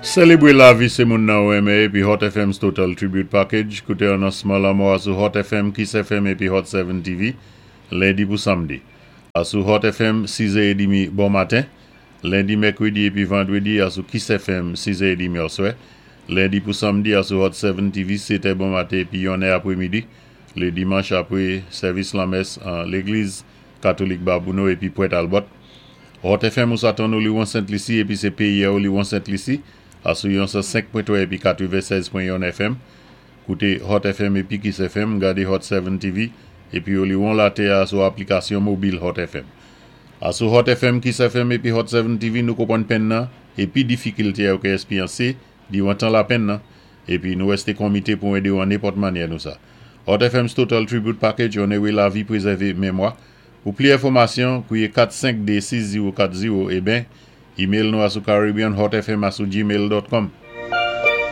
Sélébwé lavi sé moun nan ou enmen épi Hot FM's Total Tribute Package. Kouté anonsman lanmò a sou Hot FM, Kiss FM épi Hot 7 TV, lendi pou samdi. A sou Hot FM, 6h30 bon maten. Lendi, mèkwédi épi vandwédi a sou Kiss FM, 6h30 oswè. Lendi pou samdi a sou Hot 7 TV, 7h bon maten épi 1h apwémidi. Lé dimanch apwé sèvis lanmès an légliz katolik Babouno épi Pwent Albòt. Hot FM ou sa tann ou liwon Sent Lisi épi sé péyi-a ou liwon Sent Lisi a sou yon 105.3 épi 96.1 FM. Kouté Hot FM épi Kiss FM, gadé Hot 7 TV épi ou liwon latè-a sou aplikasyon mobil Hot FM. A sou Hot FM, Kiss FM épi Hot 7 TV nou konpwann penn nan épi difikilté a ou ka èspéryansé diwan tan lapenn nan épi nou wèsté konmité pou édé ou an nenpòt mannyè nou sa. Hot FM's Total Tribute Package onoré lavi, pwézèvé mémwa. Pou pli enfòmasyon, kwié 452-6040 é ben, email nou a sou caribbeanhotfm a sou gmail.com.